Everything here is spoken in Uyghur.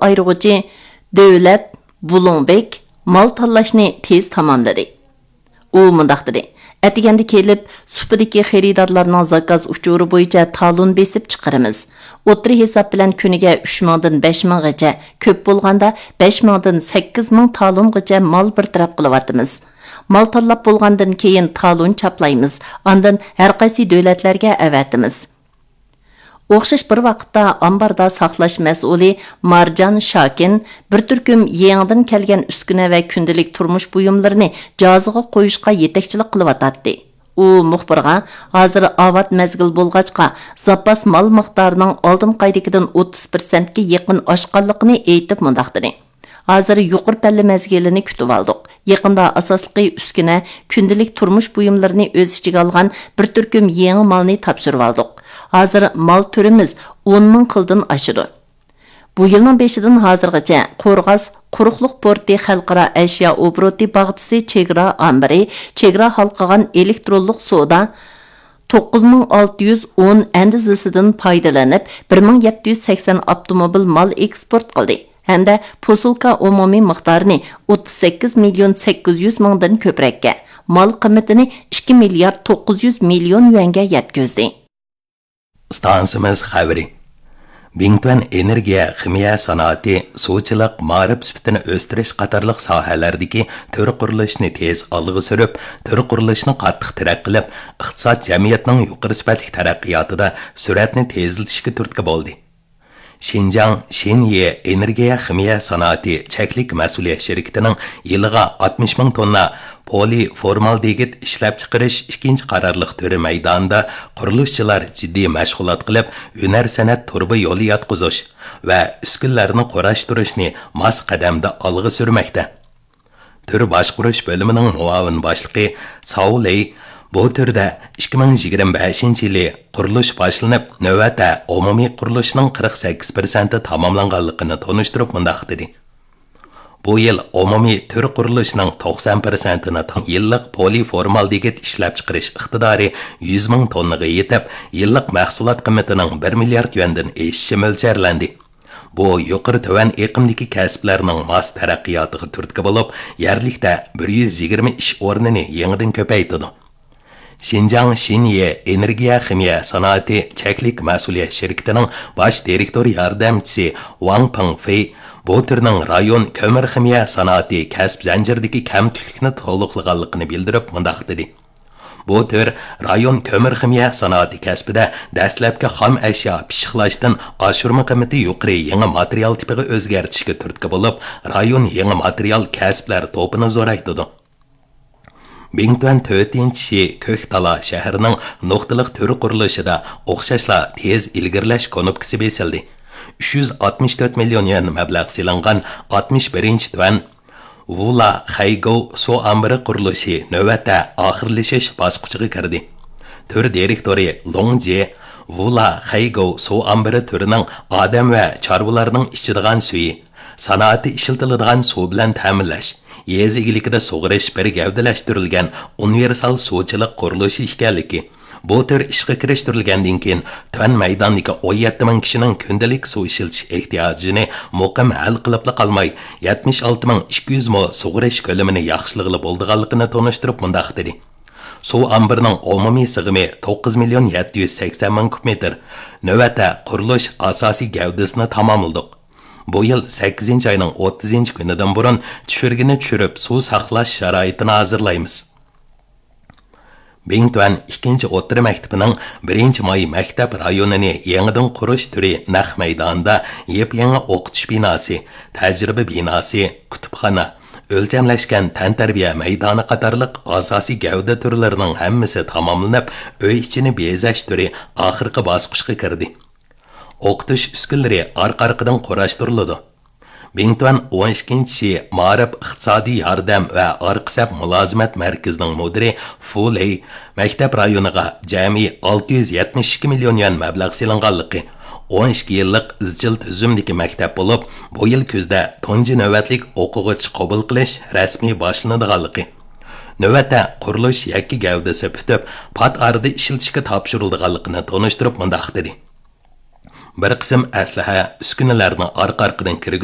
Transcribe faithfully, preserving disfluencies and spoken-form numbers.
ئايرىغۇچى دۆلەت بۇلۇڭبېك مال تاللاشنى تېز تاماملىدى. ئۇ مۇنداق دېدى: ئەتىگەندە كېلىپ، سۇپىدىكى خېرىدارلارنىڭ زاكاز ئۇچۇرى بويىچە تالون بېسىپ چىقىرىمىز. ئوتتۇرا ھېساب بىلەن كۈنىگە ئۈچ مىڭدىن بەش مىڭغىچە، كۆپ بولغاندا بەش مىڭدىن سەككىز مىڭ تالونغىچە مال بىر تەرەپ قىلىۋاتىمىز. مال تاللاپ بولغاندىن كېيىن تالون چاپلايمىز، ئاندىن ھەرقايسى دۆلەتلەرگە ئەۋەتىمىز. ئوخشاش بىر ۋاقىتتا ئامباردا ساقلاش مەسئۇلى مارجان شاكىن بىر تۈركۈم يېڭىدىن كەلگەن ئۈسكۈنە ۋە كۈندىلىك تۇرمۇش بۇيۇملىرىنى جازىغا قويۇشقا يېتەكچىلىك قىلىۋاتاتتى. ئۇ مۇخبىرغا، ھازىر ئاۋات مەزگىل بولغاچقا، زاپاس مال مىقدارىنىڭ ئالدىنقى ئايدىكىدىن ئوتتۇز پىرسەنتكە يېقىن ئاشقانلىقىنى ئېيتىپ مۇنداق دېدى: ھازىر يۇقىرى پەللە مەزگىلىنى كۈتۈۋالدۇق. يېقىندا ئاساسلىقى ئۈسكۈنە، كۈندىلىك تۇرمۇش بۇيۇملىرىنى ئۆز ئىچىگە ئالغان بىر تۈركۈم يېڭى مالنى تاپشۇرۇۋالدۇق. ھازىر مال تۈرىمىز ئون مىڭ خىلدىن ئاشىدۇ. بۇ يىلنىڭ بېشىدىن ھازىرغىچە قورغاس قۇرۇقلۇق پورتى خەلقئارا ئەشيا ئوبوروتى باغچىسى چېگرا ئامبىرى، چېگرا ھالقىغان ئېلېكترونلۇق سودا، توققۇز مىڭ ئالتە يۈز ئون ئەندىزىسىدىن پايدىلىنىپ، بىر مىڭ يەتتە يۈز سەكسەن ئاپتوموبىل مال ئېكسپورت قىلدى ھەمدە پوسۇلكا ئومۇمىي مىقدارىنى ئوتتۇز سەككىز مىليون سەككىز يۈز مىڭدىن كۆپرەككە، مال قىممىتىنى ئىككى مىليارد توققۇز يۈز مىليون يۈەنگە يەتكۈزدى. ئىستانسىمىز خەۋىرى. بىڭتۈەن ئېنېرگىيە خىمىيە سانائىتى، سۇچىلىق، مائارىپ سۈپىتىنى ئۆستۈرۈش قاتارلىق ساھەلەردىكى تۈر قۇرۇلۇشنى تېز ئالغا سۈرۈپ، تۈر قۇرۇلۇشنى قاتتىق تەرەققىي قىلىپ، ئىقتىساد، جەمئىيەتنىڭ يۇقىرى سۈپەتلىك تەرەققىياتىدا سۈرئەتنى تېزلىتىشكە تۈرتكە بولدى. شىنجاڭ شىنيې ئېنېرگىيە خىمىيە سانائىتى چەكلىك مەسئۇلىيەت شىركىتىنىڭ يىلىغا ئاتمىش مىڭ توننا پولىفورمالدېگىد ئىشلەپچىقىرىش ئىككىنچى قارارلىق تۈرى مەيدانىدا قۇرۇلۇشچىلار جىددىي مەشغۇلات قىلىپ، ھۈنەر سەنئەت تۇرۇبا يولى ياتقۇزۇش ۋە ئۈسكۈنىلەرنى قۇراشتۇرۇشنى ماس قەدەمدە ئالغا سۈرمەكتە. تۈر باشقۇرۇش بۆلۈمىنىڭ مۇئاۋىن باشلىقى ساۋ لېي بۇ تۈردە ئىككى مىڭ يىگىرمە بەشىنچى يىلى قۇرۇلۇش باشلىنىپ، نۆۋەتتە ئومۇمىي قۇرۇلۇشنىڭ قىرىق سەككىز پىرسەنتى تاماملانغانلىقىنى تونۇشتۇرۇپ مۇنداق دېدى: بۇ يىل ئومۇمىي تۈر قۇرۇلۇشىنىڭ توقسان پىرسەنتىنى تا-، يىللىق پولىفورمالدېگىد ئىشلەپچىقىرىش ئىقتىدارى يۈز مىڭ توننىغا يېتىپ، يىللىق مەھسۇلات قىممىتىنىڭ بىر مىليارد يۈەندىن ئېشىشى مۆلچەرلەندى. بۇ يۇقىرى تۆۋەن ئېقىمدىكى كەسىپلەرنىڭ ماس تەرەققىياتىغا تۈرتكە بولۇپ، يەرلىكتە بىر يۈز يىگىرمە ئىش ئورنىنى يېڭىدىن كۆپەيتىدۇ. شىنجاڭ شىنيې ئېنېرگىيە خىمىيە سانائىتى چەكلىك مەسئۇلىيەت شىركىتىنىڭ باش دىرېكتور ياردەمچىسى ۋاڭ پېڭفېي بۇ تۈرنىڭ رايون كۆمۈر خىمىيە سانائىتى كەسىپ زەنجىرىدىكى كەمتۈكلۈكنى تولۇقلىغانلىقىنى بىلدۈرۈپ مۇنداق دېدى: بۇ تۈر رايون كۆمۈر خىمىيە سانائىتى كەسپىدە دەسلەپكى خام ئەشيا پىششىقلاشتىن ئاشۇرما قىممىتى يۇقىرى يېڭى ماتېرىيال تىپىغا ئۆزگەرتىشكە تۈرتكە بولۇپ، رايون يېڭى ماتېرىيال كەسىپلەر توپىنى زورايتىدۇ. بىڭتۈەن تۆتىنچى شى كۆكتالا شەھىرىنىڭ نۇقتىلىق تۈر قۇرۇلۇشىدا ئوخشاشلا تېز ئىلگىرىلەش كۇنۇپكىسى بېسىلدى. ئۈچ يۈز ئاتمىش تۆت مىليون يۈەن مەبلەغ سېلىنغان ئاتمىش بىرىنچى تۈەن ۋۇلا خەيگوۋ سۇ ئامبىرى قۇرۇلۇشى نۆۋەتتە ئاخىرلىشىش باسقۇچىغا كىردى. تۈر دىرېكتورى لوڭ جې ۋۇلا خەيگوۋ سۇ ئامبىرى تۈرىنىڭ ئادەم ۋە چارۋىلارنىڭ ئىچىدىغان سۈيى، سانائەتتە ئىشلىتىلىدىغان سۇ بىلەن تەمىنلەش، يېزا ئىگىلىكىدە سۇغىرىش بىر گەۋدىلەشتۈرۈلگەن ئۇنىۋېرسال سۇچىلىق قۇرۇلۇشى ئىكەنلىكى، بۇ تۈر ئىشقا كىرىشتۈرۈلگەندىن كېيىن، تۆۋەن مەيداندىكى ئون يەتتە مىڭ كىشىنىڭ كۈندىلىك سۇ ئىشلىتىش ئېھتىياجىنى مۇقىم ھەل قىلىپلا قالماي، يەتمىش ئالتە مىڭ ئىككى يۈز مو سۇغىرىش كۆلىمىنى ياخشىلىغىلى بولىدىغانلىقىنى تونۇشتۇرۇپ مۇنداق دېدى: سۇ ئامبىرىنىڭ ئومۇمىي سىغىمى توققۇز مىليون يەتتە يۈز سەكسەن مىڭ كۇب مېتىر. نۆۋەتتە قۇرۇلۇش ئاساسىي گەۋدىسىنى تاماملىدۇق. بۇ يىل سەككىزىنچى ئاينىڭ ئوتتۇزىنچى كۈنىدىن بۇرۇن چۈشۈرگىنى چۈشۈرۈپ، سۇ ساقلاش شارائىتىنى ھازىرلايمىز. بىڭتۈەن ئىككىنچى ئوتتۇرا مەكتىپىنىڭ بىرىنچى ماي مەكتەپ رايونىنى يېڭىدىن قۇرۇش تۈرى نەق مەيدانىدا يېپيېڭى ئوقۇتۇش بىناسى، تەجرىبە بىناسى، كۇتۇپخانا، ئۆلچەملەشكەن تەنتەربىيە مەيدانى قاتارلىق ئاساسىي گەۋدە تۈرلىرىنىڭ ھەممىسى تاماملىنىپ، ئۆي ئىچىنى بېزەش تۈرى ئاخىرقى باسقۇچقا كىردى. ئوقۇتۇش ئۈسكۈنىلىرى ئارقا-ئارقىدىن قۇراشتۇرۇلىدۇ. بىڭتۈەن ئون ئىككىنچى شى مائارىپ ئىقتىسادىي ياردەم ۋە ئارقا سەپ مۇلازىمەت مەركىزىنىڭ مۇدىرى فۇ لېي مەكتەپ رايونىغا جەمئىي ئالتە يۈز يەتمىش ئىككى مىليون يۈەن مەبلەغ سېلىنغانلىقى، ئون ئىككى يىللىق ئىزچىل تۈزۈمدىكى مەكتەپ بولۇپ، بۇ يىل كۈزدە تۇنجى نۆۋەتلىك ئوقۇغۇچى قوبۇل قىلىش رەسمىي باشلىنىدىغانلىقى، نۆۋەتتە قۇرۇلۇش يەككە گەۋدىسى پۈتۈپ، پات ئارىدا ئىشلىتىشكە تاپشۇرۇلىدىغانلىقىنى تونۇشتۇرۇپ مۇنداق دېدى: بىر قىسىم ئەسلىھە، ئۈسكۈنىلەرنى ئارقا-ئارقىدىن كىرگۈزۈپ،